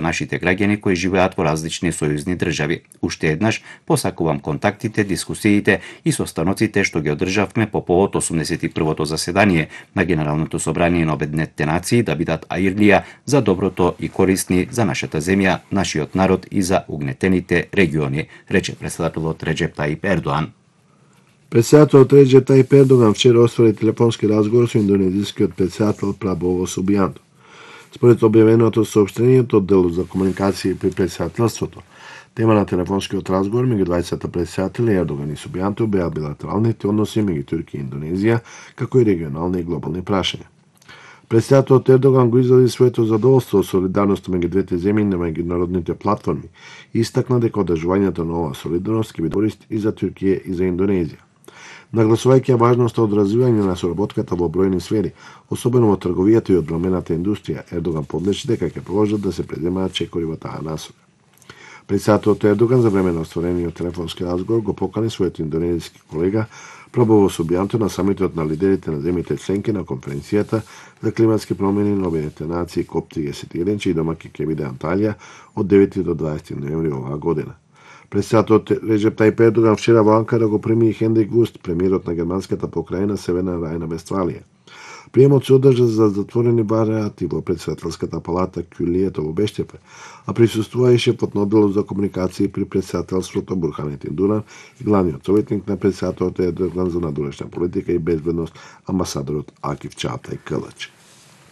нашите граѓани кои живеат во различни сојузни држави. Уште еднаш посакувам контактите, дискусиите и состаноците што ги одржавме по повод 81-то заседание на Генералното собрание на Обединетите нации да бидат аирлија за доброто и корисни за нашата земја, нашиот народ и за угнетените региони, рече председателот Реджеп Таип Ердоан. Председателот Реджеп Таип Ердоган вчера оствари телефонски разговор со индонезискиот председател Прабово Субијанто. Според објавеното соопштението од делот за комуникации при председателството, тема на телефонскиот разговор меѓу двајцата председатели Ердоган и Субијанто беа билатералните односи меѓу Турција и Индонезија, како и регионални и глобални прашања. Председателот Ердоган го изрази своето задоволство од солидарноста меѓу двете земји на меѓународните платформи и истакна дека одржувањето на оваа солидарност ќе биде корист и за Турција и за Индонезија. Нагласувајќи важноста од развивање на соработката во бројни сфери, особено во трговијата и одбрамбената индустрија, Ердоган подлечи дека ќе продолжат да се предземаат чекори во таа насока. Председателот Ердоган за време на остварениот телефонски разговор го покани својот индонезиски колега Прабово Субијанто на самитот на лидерите на земјите членки на конференцијата за климатски промени на Обединетите нации COP31, чиј домаќин ќе биде Анталија од 9 до 20 ноември оваа година. Председателот Реджеп Таип Ердоган вчера во Анкара го прими и Хенрик Вуст, премиерот на германската покрајна Северна Рајна-Вестфалија. Приемот се одржа за затворени барати во председателската палата Кюлието во Бештепе, а присуствуваше под одделот за комуникации при председателството Бурханетин Дуран и главниот советник на председателот Ердоган за надворешна политика и безбедност амбасадорот Акиф Чагатай Кылыч.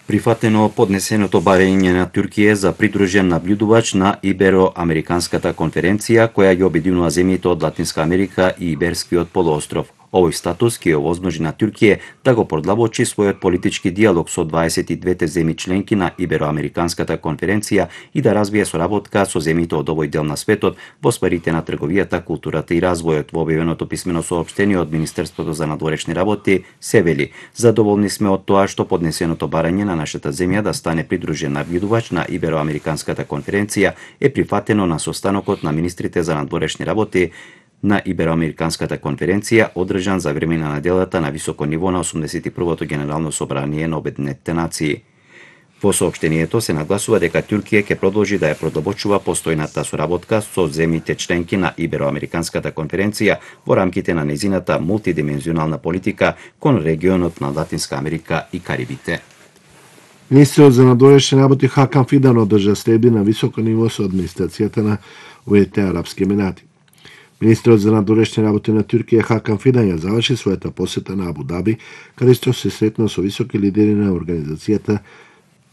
Прифатено поднесеното барање на Турција за придружен наблюдувач на Ибероамериканската конференција која ги обединува земјите од Латинска Америка и Иберскиот полуостров. Овој статус ќе овозможи на Турција да го продлабочи својот политички диалог со 22 земји членки на Ибероамериканската конференција и да развие соработка со земјите од овој дел на светот во сферите на трговијата, културата и развојот. Во објавеното писмено соопштение од Министерството за надворешни работи се вели: задоволни сме од тоа што поднесеното барање на нашата земја да стане придружен наблюдувач на Ибероамериканската конференција е прифатено на состанокот на министрите за надворешни работи на Ибероамериканската конференција, одржан за време на неделата на високо ниво на 81-то Генерално собрание на Обединетите нации. Во соопштението се нагласува дека Турција ќе продолжи да ја продлабочува постојната соработка со земјите членки на Ибероамериканската конференција во рамките на нејзината мултидимензионална политика кон регионот на Латинска Америка и Карибите. Министерот за надворешни работи Хакан Фидан одржа следби на високо ниво со администрацијата на Уединетите арапски емирати. Министерот за надворешни работи на Турција Хакан Фидан ја заврши својата посета на Абу Даби, каде што се сретна со високи лидери на организацијата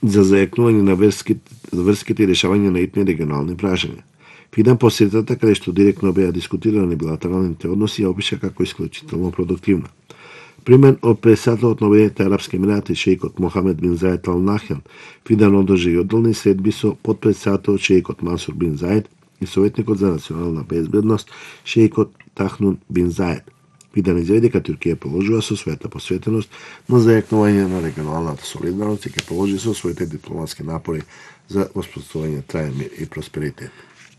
за зајакнување на врските и решавање на итни регионални прашања. Фидан посетата, каде што директно беа дискутирани билатералните односи, ја опиша како исклучително продуктивна. Примен од председателот на Обединетите арапски емирати шејкот Мохамед бин Заед Ал Нахјан, Фидан одржи и одделни средби со подпредседателот шејкот Мансур бин Заед и советникот за национална безбедност шејкот Тахнун бин Заед. Фидан изјави дека Турција положува со својата посветеност на зајакнување на регионалната солидарност и ќе положи со своите дипломатски напори за воспоставување траен мир и просперитет.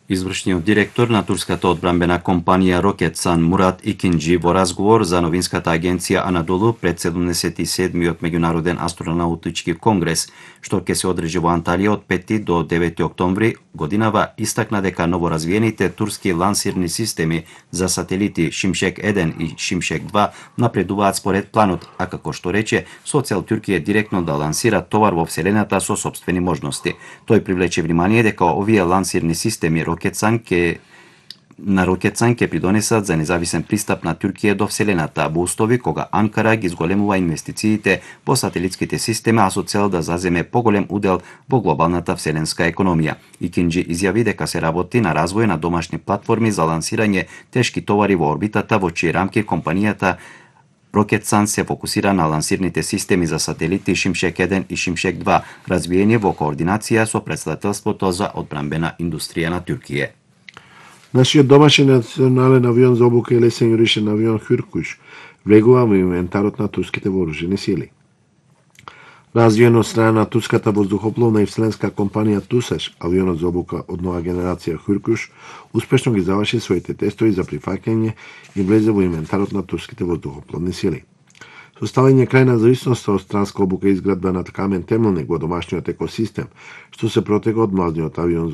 Извршниот директор на турската одбрамбена компанија Рокетсан Мурат Икинџи во разговор за новинската агенција Анадолу пред 77-миот меѓународен астронаутички конгрес, што ќе се одржи во Анталија од 5 до 9 октомври годинава, истакна дека новоразвиените турски лансирни системи за сателити Шимшек 1 и Шимшек 2 напредуваат според планот, а како што рече, со цел Турција директно да лансира товар во вселената со сопствени можности. Тој привлече внимание дека овие лансирни системи Рокетсан ќе придонесат за независен пристап на Турција до вселената во услови кога Анкара ги зголемува инвестициите во сателитските системи, а со цел да заземе поголем удел во глобалната вселенска економија. Икинџи изјави дека се работи на развој на домашни платформи за лансирање тешки товари во орбитата, во чии рамки компанијата Рокетсан се фокусира на лансирните системи за сателити Шимшек 1 и Шимшек 2, развиени во координација со Претседателството за одбрамбена индустрија на Турција. Нашиот домашен национален авион за обука и лесен јуришен авион Хюркуш влегува во инвентарот на турските вооружени сили. Развиен од страна на турската воздухопловна и вселенска компанија Тусаш, авионот за обука од нова генерација Хюркуш успешно ги заврши своите тестови за прифаќање и влезе во инвентарот на турските воздухопловни сили. Со ставање крај на зависноста од странска обука и изградба на камен темелник во домашниот екосистем, што се протега од младиот авион